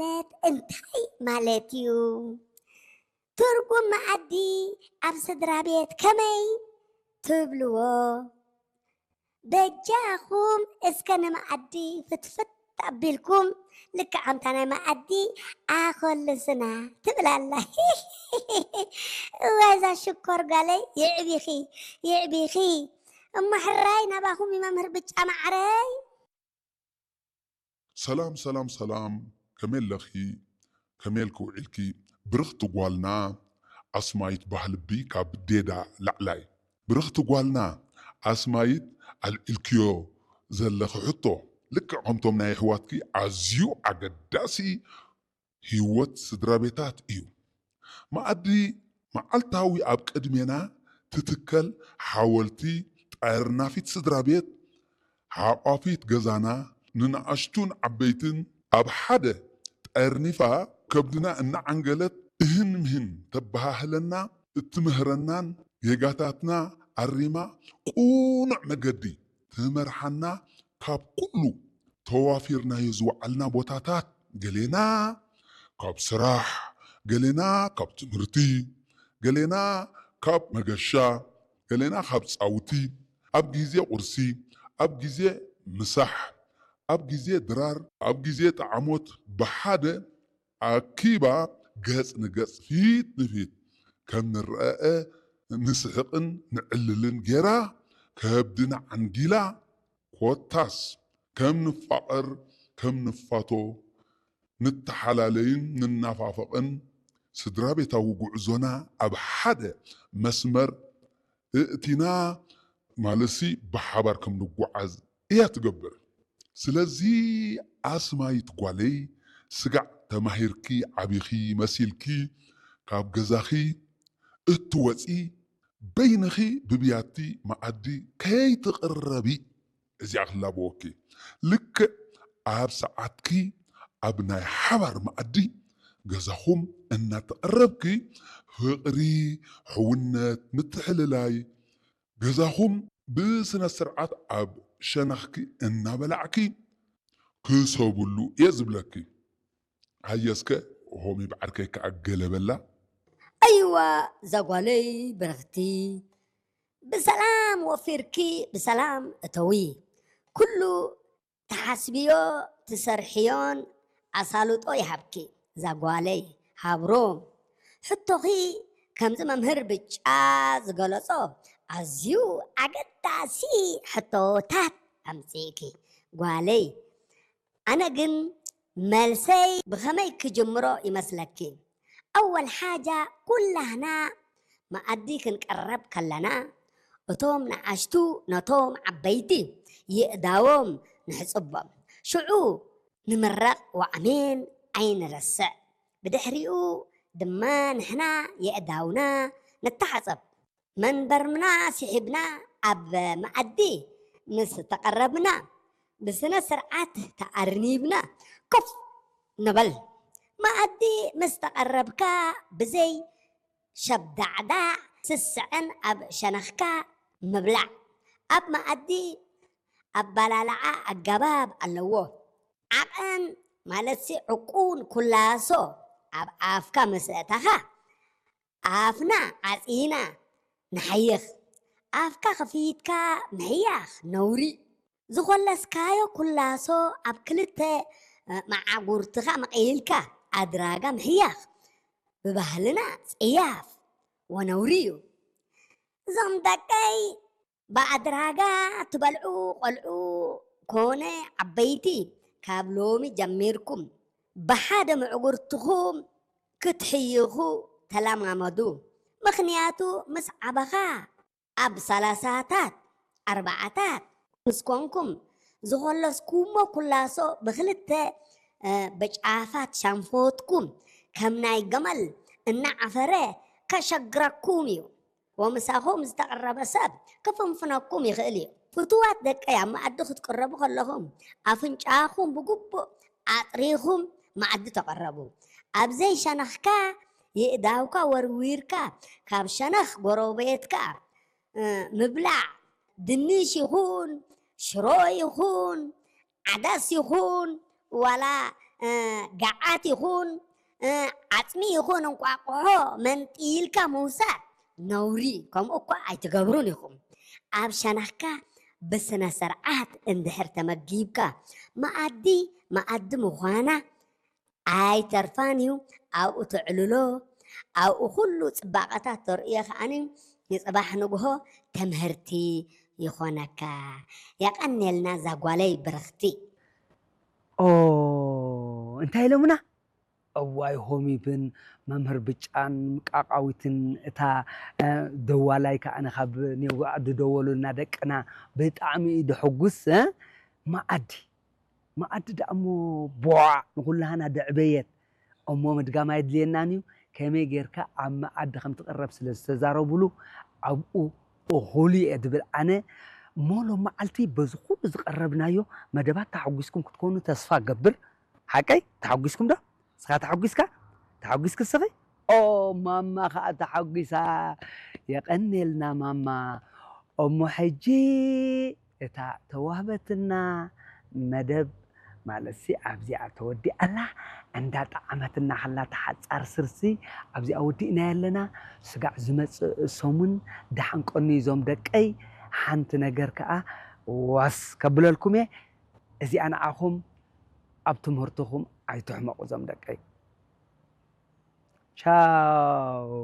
ማለት እንታይ ማለት እዩ? ትርጉም መኣዲ ኣብ ስድራ ቤት ከመይ ትብልዎ? በጃኹም እስከ ንመኣዲ ፍትፍት ኣቢልኩም ልክዕ ከምታ ናይ መኣዲ ኣኸልስና ትብል ኣላ። እወ እዛ ሽኮር ጓለይ የዕቢኺ የዕቢኺ። እሞ ሕራይ ናባኹም እዩ መምህር ብጫ ማዕረይ። ሰላም ሰላም ሰላም፣ ከመይ ኣለኺ? ከመይ ኢልኪ ውዒልኪ? ብርኽቲ ጓልና ኣስማይት ባህልቢ ካብ ዴዳ ላዕላይ። ብርኽቲ ጓልና ኣስማይት፣ ኣልዒልክዮ ዘለኺ ሕቶ ልክዕ ከምቶም ናይ ኣሕዋትኪ ኣዝዩ ኣገዳሲ ህይወት ስድራ ቤታት እዩ። መኣዲ መዓልታዊ ኣብ ቅድሜና ትትከል ሓወልቲ ጠርናፊት ስድራ ቤት፣ ሓቋፊት ገዛና፣ ንንኣሽቱን ዓበይትን ኣብ ሓደ ጠርኒፋ ከብድና እናዓንገለት እህን ምህን ተበሃህለና፣ እትምህረናን ጌጋታትና ኣሪማ ቅኑዕ መገዲ ትመርሓና፣ ካብ ኩሉ ተዋፊርናዮ ዝወዓልና ቦታታት፣ ገሌና ካብ ስራሕ፣ ገሌና ካብ ትምህርቲ፣ ገሌና ካብ መገሻ፣ ገሌና ካብ ጻውቲ፣ ኣብ ግዜ ቁርሲ፣ ኣብ ግዜ ምሳሕ፣ ኣብ ግዜ ድራር፣ ኣብ ግዜ ጠዓሞት ብሓደ ኣኪባ ገጽ ንገጽ ፊት ንፊት ከም ንረኣእ ንስሕቕን ንዕልልን ጌራ ከብድና ዓንጊላ፣ ኮታስ ከም ንፋቐር ከም ንፋቶ ንተሓላለይን ንናፋፈቕን ስድራ ቤታዊ ጉዕዞና ኣብ ሓደ መስመር እእቲና ማለትሲ ብሓባር ከም ንጓዓዝ እያ ትገብር። ስለዚ ኣስማይት ጓለይ ስጋዕ ተማሂርኪ ዓቢኺ መሲልኪ ካብ ገዛኺ እትወፂ በይንኺ ብብያቲ መኣዲ ከይትቕረቢ እዚኣ ክላበወኪ። ልክዕ ኣብ ሰዓትኪ ኣብ ናይ ሓባር መኣዲ ገዛኹም እናተቐረብኪ ፍቕሪ፣ ሕውነት፣ ምትሕልላይ ገዛኹም ብስነ ስርዓት ኣብ ሸነኽኪ እናበላዕኪ ክሰብሉ እየ ዝብለኪ። ሃየስከ ሆሚ ብዓርከይ ከኣ ገለ በላ። ኣይዋ ዛጓለይ ብርኽቲ ብሰላም ወፊርኪ ብሰላም እተዊ። ኩሉ ትሓስብዮ ትሰርሕዮን ኣሳልጦ ይሃብኪ ዛጓለይ ሃብሮም። ሕቶኺ ከምዚ መምህር ብጫ ዝገለጾ ኣዝዩ ኣገዳሲ ሕቶታት ኣምጺእኪ ጓለይ። ኣነ ግን መልሰይ ብኸመይ ክጅምሮ ይመስለኪ? ኣወል ሓጃ ኩላህና መኣዲ ክንቀረብ ከለና እቶም ንኣሽቱ ነቶም ዓበይቲ የእዳዎም ንሕጽቦም። ሽዑ ንምረቕ ወኣሜን ኣይንረስዕ። ብድሕሪኡ ድማ ንሕና የእዳውና ንተሓጸብ። መንበርና ስሒብና ኣብ መኣዲ ምስ ተቐረብና ብስነ ስርዓት ተኣርኒብና ኮፍ ንበል። መኣዲ ምስ ተቐረብካ ብዘይ ሸብዳዕዳዕ ስስዐን ኣብ ሸነኽካ ምብላዕ። ኣብ መኣዲ ኣባላልዓ ኣገባብ ኣለዎ። ዓቐን ማለትሲ ዕቁን ኩላሶ ኣብ ኣፍካ ምስ ኣእተኻ ኣፍና ዓጺና ንሓይኽ። ኣፍካ ከፊትካ ምሕያኽ ነውሪ። ዝኾለስካዮ ኩላሶ ኣብ ክልተ መዓጉርትኻ መቒልካ ኣድራጋ ምሕያኽ ብባህልና ጽያፍ ወነውሪ እዩ። እዞም ደቀይ ብኣድራጋ ትበልዑ ቆልዑ ኮነ ዓበይቲ ካብ ሎሚ ጀሚርኩም ብሓደ ምዕጉርትኹም ክትሕይኹ ተለማመዱ። ምኽንያቱ ምስ ዓበኻ ኣብ ሰላሳታት ኣርባዓታት ምስ ኮንኩም ዝኾለስኩሞ ኩላሶ ብክልተ በጫፋት ሻንፎትኩም ከም ናይ ገመል እናዓፈረ ከሸግረኩም እዩ። ወምሳኹም ዝተቐረበ ሰብ ክፍንፍነኩም ይኽእል እዩ። ፍቱዋት ደቀይ ኣብ መኣዲ ክትቅረቡ ከለኹም ኣፍንጫኹም ብግቡእ ኣጥሪኹም መኣዲ ተቐረቡ። ኣብ ዘይሸነኽካ የእዳውካ ወርዊርካ ካብ ሸነኽ ጎረቤትካ ምብላዕ ድንሽ ይኹን ሽሮ ይኹን ዓደስ ይኹን ዋላ እ፣ ገዓት ይኹን፣ እ፣ ዓጽሚ ይኹን እንቋቑሖ መንጢልካ ምውሳድ ነውሪ፣ ከምኡ እኳ ኣይትገብሩን ኢኹም። ኣብ ሸነኽካ ብስነ ስርዓት እንድሕር ተመጊብካ፣ መኣዲ መኣዲ ምዃና ኣይተርፋን እዩ። ኣብኡ ተዕልሎ፣ ኣብኡ ኩሉ ጽባቐታት ተርእዮ ከኣኒ ንጽባሕ ንግሆ ትምህርቲ ይኾነካ። የቐንየልና እዛ ጓለይ ብርኽቲ። ኦ፣ እንታይ ኢሎምና? እዋይ ሆሚብን መምህር ብጫን ቃቃዊትን እታ፣ እ፣ ደዋላይ ከኣ ንኻብ ኔውግዕ ድደወሉልና ደቅና ብጣዕሚ እዩ ድሕጉስ፣ እ? መኣዲ፣ መኣዲ ደኣ እሞ ቧዕ ንኹላህና ደዕበየት። እሞ ምድጋም ኣየድልየናን እዩ። ከመይ ጌርካ ኣብ መኣዲ ከም ትቕረብ ስለ ዝተዛረቡሉ ኣብኡ እኹል እየ ድብል ኣነ። እሞ ሎም መዓልቲ በዚ ኩሉ ዝቐረብናዮ መደባት ተሓጒስኩም ክትኮኑ ተስፋ እገብር። ሓቀይ? ተሓጒስኩም ዶ? ንስኻ ተሓጒስካ? ተሓጒስኪ እስኺ? ኦ፣ ማማ ኸኣ ተሓጒሳ። የቐንየልና ማማ። እሞ ሕጂ እታ ተዋህበትና መደብ ማለትሲ ኣብዚኣ ተወዲኣላ፣ እንዳጠዓመትና ከላ ተሓጻር ስርሲ ኣብዚኣ ወዲእናያ ኣለና። ስጋዕ ዝመጽእ ሰሙን ደሓን ቀንዩ እዞም ደቀይ፣ ሓንቲ ነገር ከኣ ዋስ ከብለልኩም እየ። እዚኣ ንዓኹም ኣብ ትምህርትኹም ኣይትሕመቑ እዞም ደቀይ። ቻው።